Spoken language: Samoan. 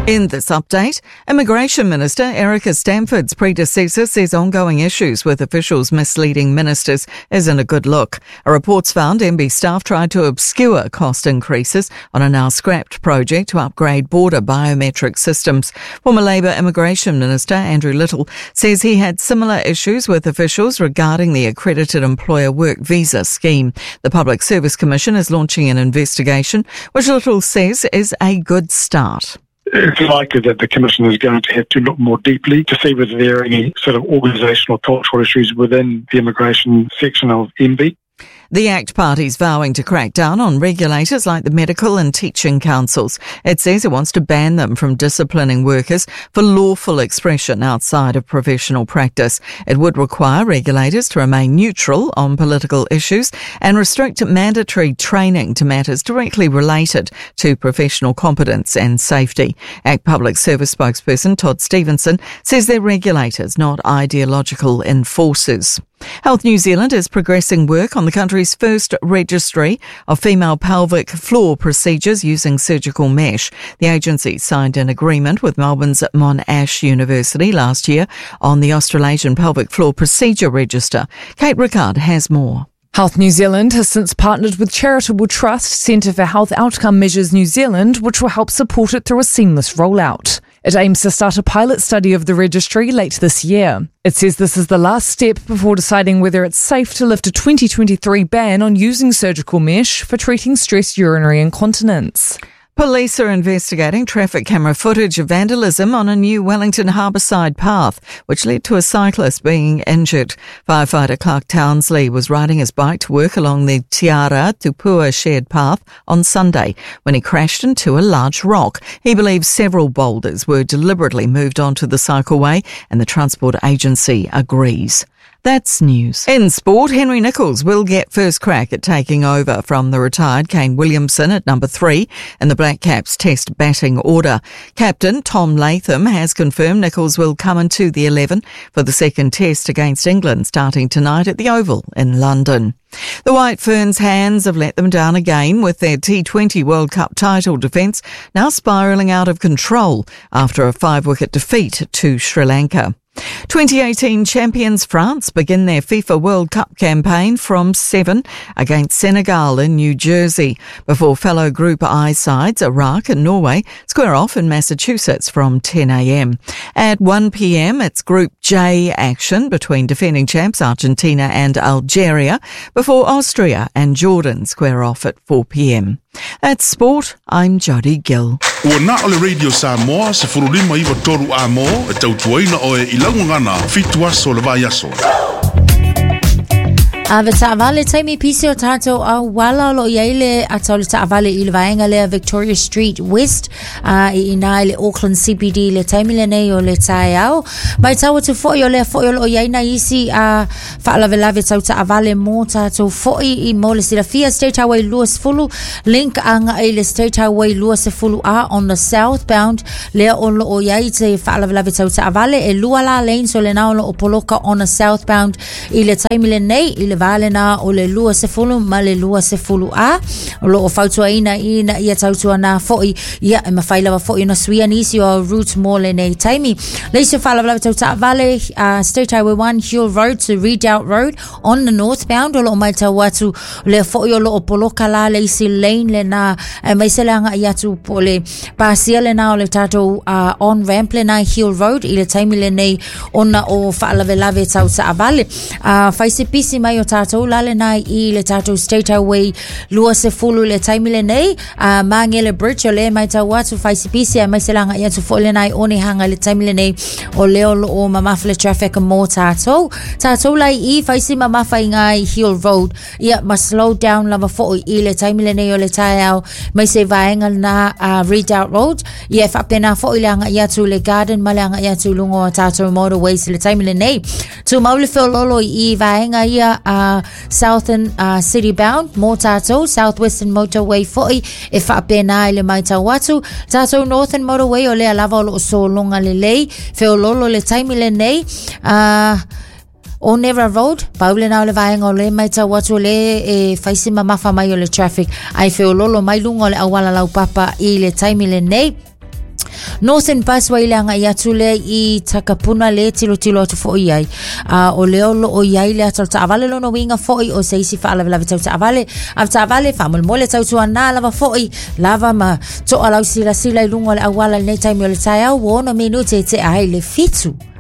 In this update, Immigration Minister Erica Stanford's predecessor says ongoing issues with officials misleading ministers isn't a good look. A report's found MB staff tried to obscure cost increases on a now scrapped project to upgrade border biometric systems. Former Labour Immigration Minister Andrew Little says he had similar issues with officials regarding the accredited employer work visa scheme. The Public Service Commission is launching an investigation, which Little says is a good start. It's likely that the Commission is going to have to look more deeply to see whether there are any sort of organisational cultural issues within the immigration section of MB. The ACT Party's vowing to crack down on regulators like the medical and teaching councils. It says it wants to ban them from disciplining workers for lawful expression outside of professional practice. It would require regulators to remain neutral on political issues and restrict mandatory training to matters directly related to professional competence and safety. ACT Public Service spokesperson Todd Stevenson says they're regulators, not ideological enforcers. Health New Zealand is progressing work on the country's first registry of female pelvic floor procedures using surgical mesh. The agency signed an agreement with Melbourne's Monash University last year on the Australasian Pelvic Floor Procedure Register. Kate Rickard has more. Health New Zealand has since partnered with Charitable Trust Centre for Health Outcome Measures New Zealand, which will help support it through a seamless rollout. It aims to start a pilot study of the registry late this year. It says this is the last step before deciding whether it's safe to lift a 2023 ban on using surgical mesh for treating stress urinary incontinence. Police are investigating traffic camera footage of vandalism on a new Wellington harbourside path, which led to a cyclist being injured. Firefighter Clark Townsley was riding his bike to work along the Tiara Tupua shared path on Sunday when he crashed into a large rock. He believes several boulders were deliberately moved onto the cycleway, and the transport agency agrees. That's news. In sport, Henry Nicholls will get first crack at taking over from the retired Kane Williamson at number 3 in the Black Caps Test batting order. Captain Tom Latham has confirmed Nicholls will come into the 11 for the second Test against England starting tonight at the Oval in London. The White Ferns' hands have let them down again with their T20 World Cup title defence now spiralling out of control after a 5-wicket defeat to Sri Lanka. 2018 champions France begin their FIFA World Cup campaign from 7 against Senegal in New Jersey before fellow Group I sides Iraq and Norway square off in Massachusetts from 10 a.m. At 1 p.m. it's Group J action between defending champs Argentina and Algeria before Austria and Jordan square off at 4 p.m. That's sport. I'm Jodie Gill. Ua na o le Radio Samoa, 153 a mo, e tautuaina oe i laugagana, fitu aso le vai aso. Ave taavale taimi pisi o tātou au wala o lo i ai le ata o le taavale i le vaenga lea Victoria Street West i ina i le Auckland CBD le taimi lenei o le taeao. Mai tau atu foi o lea foi o lo i ai nai isi a faalavelave tau taavale mo tātou foi i mo le silafia State Highway 20 link anga i le State Highway 20 A on the southbound lea o lo o i ai te faalavelave tau taavale e lua la lane so le nao lo o poloka on the southbound i le taimi lenei i le vā lena o le 20 ma le 20 A o lo o fautuaina ina ia tautuana foi ia e mawhai lava foi ona suia nisi o route mo lenei taimi. Le isi o faalavelave tau taavale State Highway 1 Huel Road to Redoubt Road on the northbound o lo o maitau atu lea foi o lo o poloka la le isi lane lena e mai se le agai atu po le pasia lena o le tātou on ramp lena i Huel Road i le taimi lenei ona o faalavelave tau taavale. Fai se pisi mai o tātou la lena i le tātou State Highway 20 le taimi lenei Mangele Bridge o le mai tau atu fai se pisi e mai se langa i atu foi lena i Onehunga le taimi lenei o leo lo o mamafa le traffic mō tātou. Tātou lai i fai se mamafa i ngā i Huel Road ia ma slow down lava foi i le taimi lenei o le taeao mai se vaenga na Redoubt Road ia e whapena foi le anga i atu le garden ma le anga i atu lungo o tātou motorways le taimi lenei. Tū mau le wheololo i vaenga ia Southern City Bound mō tātou South Western Motorway foi e whapena i le mai tau atu. Tātou Northern Motorway o lea lava o lo o sōlonga le lei wheololo le taimi lenei Onera Road, paule nā o le vaenga o le mai tau atu o le e whaisi mamafa mai o le traffic ai wheololo mai lunga o le awala laupapa i le taimi lenei. Northern Busway le agai atu lea i Takapuna le tilotilo atu foi i ai. A o lea o lo o i ai le ata o le taavale lona uiga foi o se isi faalavelave tau taavale. Avetaavale faamolemole tautuana lava foi lava ma toa lau silasila i luga o le auala i lenei taimi o le taeao ua 6 minute e tea ai le 7.